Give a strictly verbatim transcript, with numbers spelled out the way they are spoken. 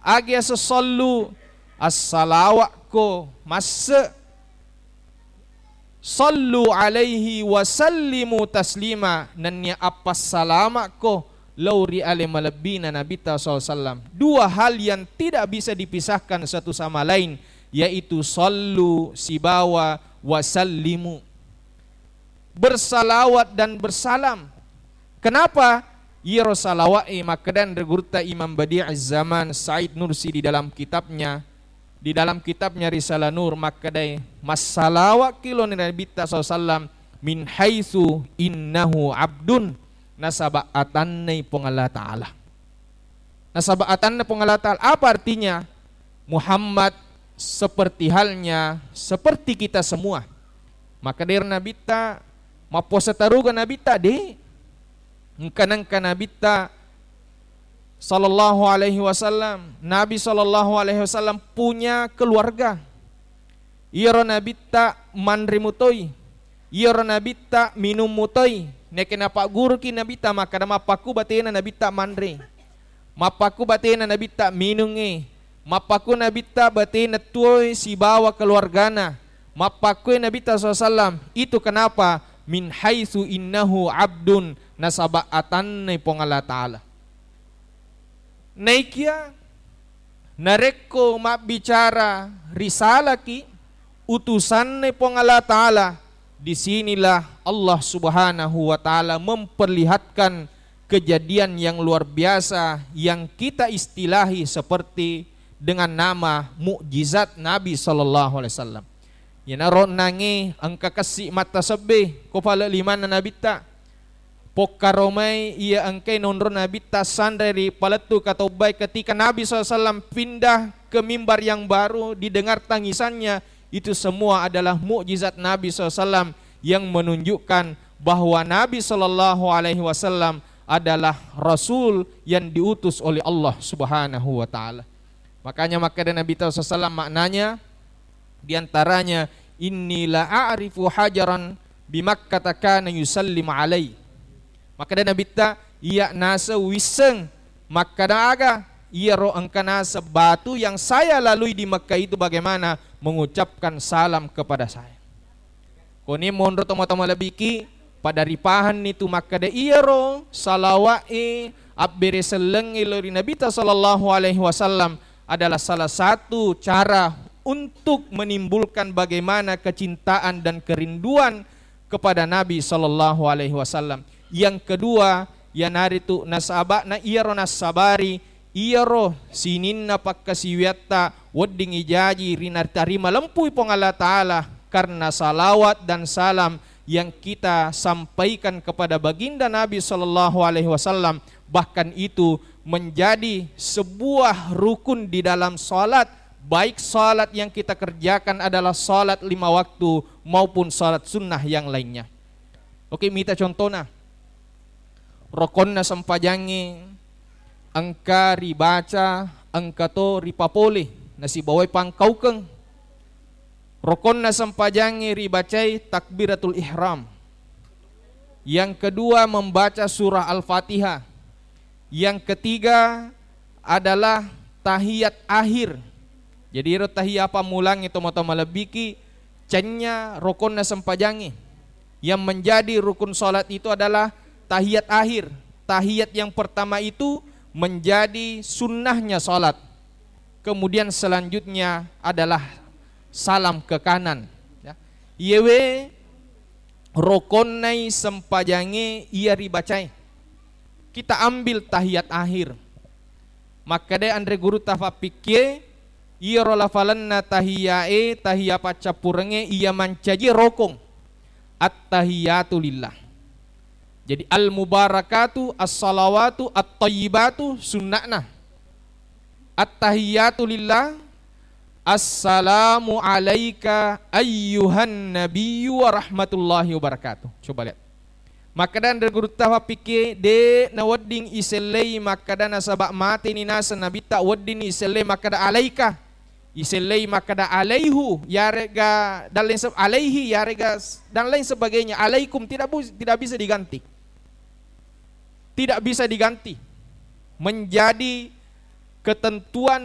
Agi aseng sallu, assalawakko masse. Sallu alaihi wa sallimu taslima, nennia appassalamakko lao ri ale malebbina Nabitta sallallahu alaihi wasallam. Dua hal yang tidak bisa dipisahkan satu sama lain, yaitu sallu sibawa wa sallimu. Bersalawat dan bersalam. Kenapa? Iyaro salawa'e makkeda anre gurutta Imam Badi'iz Zaman Said Nursi di dalam kitabnya, di dalam kitabnya Risalah Nur makkedai, massalawa'ki lao ri Nabitta sallallahu alaihi wasallam min haitsu innahu abdun, nasaba atannai Puang Allah Ta'ala. Nasaba atanna Puang Allah Ta'ala. Apa artinya? Muhammad seperti halnya, seperti kita semua. Makkeda ero Nabitta, mappuasa taruga Nabitta? De. Engka nengka Nabitta sallallahu alaihi wasallam, Nabi sallallahu alaihi wasallam punya keluarga. Iyaro Nabitta manre mutoi, iyaro Nabitta minung mutoi. Nekke napagguruki Nabitta makkeda, mappakku batena Nabitta manre, mappakku batena Nabitta minungnge, mappakku Nabitta batena tuoi sibawa keluargana, mappakku Nabitta sallallahu alaihi wasallam. Itu kenapa? Min haitsu innahu abdun, nasaba atannai Puang Allah Ta'ala. Naikia narekko mabbicara risalaki, utusanna Puang Allah Ta'ala, di sinilah Allah Subhanahu wa Ta'ala memperlihatkan kejadian yang luar biasa yang kita istilahi seperti dengan nama mukjizat Nabi sallallahu alaihi wasallam. Iyanaro onnangnge engka kessi mattasebbe ko pale limanna Nabitta. Pokkaromai iya engkae nonro Nabitta sanre ri palettu katobbae ketika Nabi sallallahu alaihi wasallam pindah ke mimbar yang baru, didengar tangisannya. Itu semua adalah mukjizat Nabi sallallahu alaihi wasallam yang menunjukkan bahwa Nabi sallallahu alaihi wasallam adalah rasul yang diutus oleh Allah Subhanahu wa Ta'ala. Makanya makkeda Nabitta sallallahu alaihi wasallam maknanya, di antaranya, "Inni la a'rifu hajaran bi Makkata kana yusallimu alai." Makkeda Nabitta, "Iya naseng wisseng makkeda aga iyaro engka naseng batu yang saya lalui di Mekah itu bagaimana mengucapkan salam kepada saya." Koni monro tomatoa malebbiki, pada ripahanni tu makkeda iyaro salawa'e abbere sellengnge lao ri Nabitta sallallahu alaihi wasallam adalah salah satu cara untuk menimbulkan bagaimana kecintaan dan kerinduan kepada Nabi sallallahu alaihi wasallam. Yang kedua, iyanaritu nasaba'na iyaro nassabari iyaro sininna pakkasiwiatta wedding ijaji ri natarima lempui Puang Allah Ta'ala karena salawat dan salam yang kita sampaikan kepada baginda Nabi sallallahu alaihi wasallam, bahkan itu menjadi sebuah rukun di dalam salat, baik salat yang kita kerjakan adalah salat lima waktu maupun salat sunnah yang lainnya. Oke, mita contona. Rokonna sempajangnge engka ribaca, engka to ripapole, nasibawai pangkaukeng. Rokonna sempajangnge ribacai takbiratul ihram. Yang kedua, membaca surah Al-Fatihah. Yang ketiga adalah tahiyat akhir. Jadi, ero tahiyat pammulangnge tomatoa malebbiki, cennya rokonna sempajangnge. Yang menjadi rukun salat itu adalah tahiyat akhir. Tahiyat yang pertama itu menjadi sunnahnya salat. Kemudian selanjutnya adalah salam ke kanan. Ya. Iyewe rokonnai sempajangnge iya ribacae. Kita ambil tahiyat akhir. Makkeda anre gurutta fappikkie, iyaro lafalenna tahiyae, tahiya paccappurengnge iya mancaji rokong. Attahiyatu lillah. Jadi al-mubarakatu, as-salawatu, at-tayyibatu sunna'na. Attahiyatu lillah. Assalamu alaika ayyuhan nabiyyu wa rahmatullahi wabarakatuh. Coba lihat. Makkeda anre gurutta fappikkie, de nawedding isellei makkeda nasaba mateni naseng Nabitta, wedding isellei makkeda alaika. Isellei makkeda alaihu, yarega dan lain se-, alaihi, yarega s-, dan lain sebagainya. Alaikum tidak bu-, tidak bisa diganti. Tidak bisa diganti. Menjadi ketentuan